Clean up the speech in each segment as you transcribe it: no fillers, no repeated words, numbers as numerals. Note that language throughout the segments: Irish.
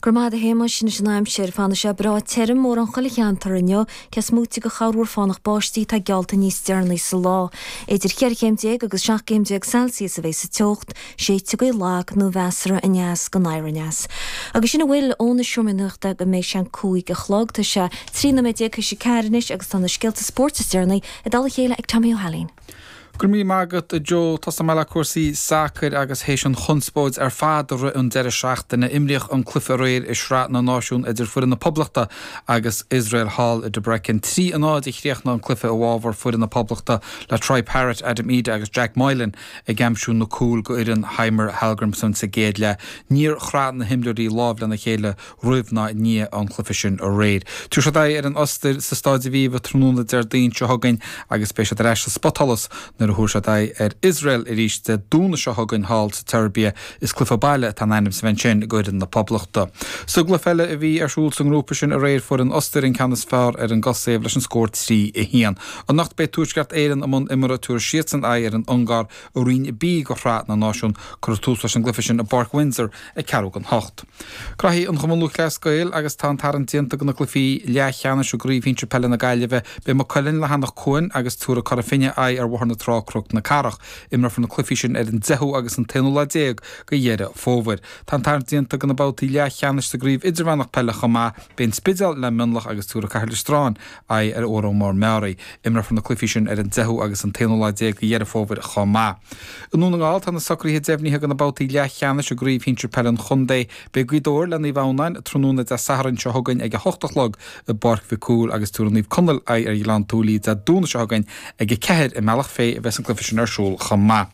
Go raibh maith agat a Shéamais, anois an aimsir. Fanfaidh sé breá tirim mórán chuile cheantar inniu, cé is móite de chorrmhúr fánach báistí atá geallta níos deireanaí sa lá. Idir cheithre chéim déag agus 17 gcéim Celsius a bheidh sa teocht, séidfidh gaoth lag nó mheasartha aneas go anoir aneas. Agus sin a bhfuil ón Seomra Nuachta go mbeidh sé an 5 a chlog. Tá sé 13 nóiméad théis a 4 anois agus tá na scéalta spóirt is deireanaí i dtoll a chéile ag Tommy Ó hAilín. Go raibh míle maith agat, a Joe. Tosóidh mé le cúrsaí sacair agus théis an chonspóid ar fad i rith an deireadh seachtaine, imríodh an cluiche aréir i Sraith na Náisiún idir foireann na Poblachta agus Iosrael thall i Debrecen. 3 a 0 a chríochnaigh an cluiche i bhfabhar foireann na Poblachta le Troy Parrott, Adam Idah agus Jack Moylan ag aimsiú na cúil go fhoireann Heimir Hallgrímsson sa gcéad leath. Níor chraith na himreoirí lámh lena chéile roimh ná i ndiaidh an chluiche sin aréir. Tabharfaidh siad aghaidh ar an Ostair sa Stáid Aviva tráthnóna Déardaoin seo chugainn agus beidh siad ar ais sa spotsholas nuair a thabharfaidh siad aghaidh ar Iosrael arís Dé Domhnaigh seo chugainn thall sa tSeirbia. Is cluiche baile atá in ainm is a bheith ansin ag foireann na Poblachta. Sa gcluiche eile a bhí ar siúl sa ngrúpa sin aréir fuair an Ostair an ceann is fearr ar an gCosaiv leis an scór 3, 1. Anocht beidh Tuaisceart Éireann i mbun imeartha tabharfaidh siadsan aghaidh ar an Ungáir i Roinn B de Shraith na Náisiún. Cuirfear tús leis an gcluiche sin i bPáirc Windsor ag ceathrú don hocht. Graithí an Chumann Lúthchleas Gael agus tá an tarraingt déanta do na cluichí leathcheannais i gCraobh Shinsir Peile na Gaillimhe. Beidh Maigh Cuilinn le hEanach Cuain agus tabharfaidh Cora Finne aghaidh ar Bhóthar na Trá Cnoc na Cathrach. Imreofar na cluichí sin ar an 10ú agus an t-aonú lá déag de Dheireadh Fómhair. Tá an tarraingt déanta do na babhtaí leathcheannais sa gCraobh Idirmheánach Peile chomh maith. Beidh An Spidéal le Mionlach agus tabharfaidh Cathair Loistreáin aghaidh ar Órán Mór Meáraí. Imreofar na cluichí sin ar an 10ú agus an t-aonú lá déag de Dheireadh Fómhair chomh maith. I nDún na nGall, tá na socruithe deimhnithe do na babhtaí leathcheannais i gCraobh Shinsir Peile an Chontae. Beidh Gaoth Dobhair le Naomh Adhamhnáin tráthnóna Dé Sathairn seo chugainn ag 8 a chlog i bPáirc Mhic Cumhaill agus tabharfaidh Naomh Conaill aghaidh ar Ghleann tSúilí Dé Domhnaigh seo chugainn ag 4 i mBealach Féich a bheas an cluiche sin ar siúl chomh maith.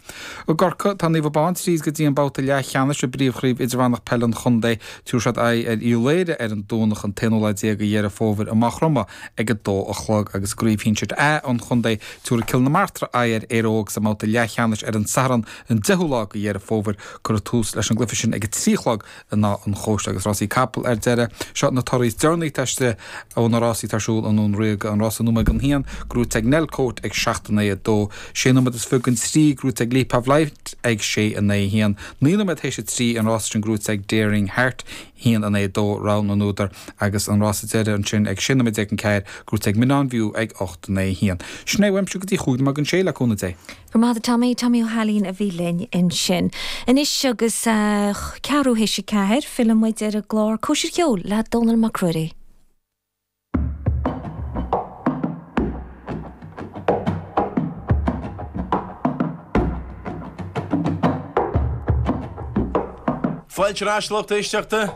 I gCorcaigh, tá Naomh Abán tríd go dtí an babhta leathcheannais i bPríomhchraobh Idirmheánach Peile an Chontae. Tabharfaidh siad aghaidh ar Uíbh Laoghaire ar an Domhnach an t-aonú lá déag de Dheireadh Fómhair i Maigh Chromtha ag 2 a chlog agus i gCraobh Shinsir A an chontae, tabharfaidh Cill na Martra aghaidh ar Éire Óg sa mbabhta leathcheannais ar an Satharn an 10ú lá de Dheireadh Fómhair. Cuirfear tús leis an gcluiche sin ag 3 a chlog in Áth an Chóiste agus rásaí capall ar deireadh. Seo na torthaí is deireanaí atá istigh ó na rásaí atá ar siúl i nDún Ríoga. An rása nóiméad don haon, gnóite ag Nellcote ag 7 in aghaidh 2. Sé nóiméad is fiche don trí, gnóite ag Leap of Light ag 6 in aghaidh 1. 9 nóiméad théis a 3, an rása sin gnóite ag Daring Heart, 1 in aghaidh 2, rogha na n-údar, agus an rása deiridh ansin ag 16 nóiméad don ceathair, gnóite ag Minaun View ag 8 in aghaidh 1. Sin é uaimse go dtí chúig nóiméad don sé, le cúnamh Dé. Go raibh maith agat Tommy, Tommy Ó hAilín a bhí linn ansin. Anois agus ceathrú théis a ceathair, filleann muid ar an gclár Cóisir Cheoil le Dónall Mac Ruairí. Fáilte ar ais, lucht éisteachta.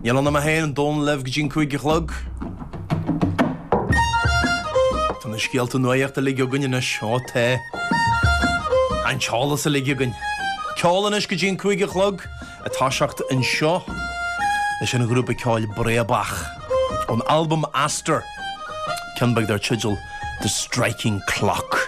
Níl ann ach mé féin, an Dónall libh go dtí an 5 a chlog. Tá na scéalta nuachta uilig againn anois, ó tá. An t-eolas uilig againn. Ceol anois go dtí an 5 a chlog. Ag toiseacht anseo leis an ghrúpa ceoil Breabach ón albam Aster, ceann beag dar teideal The Striking Clock.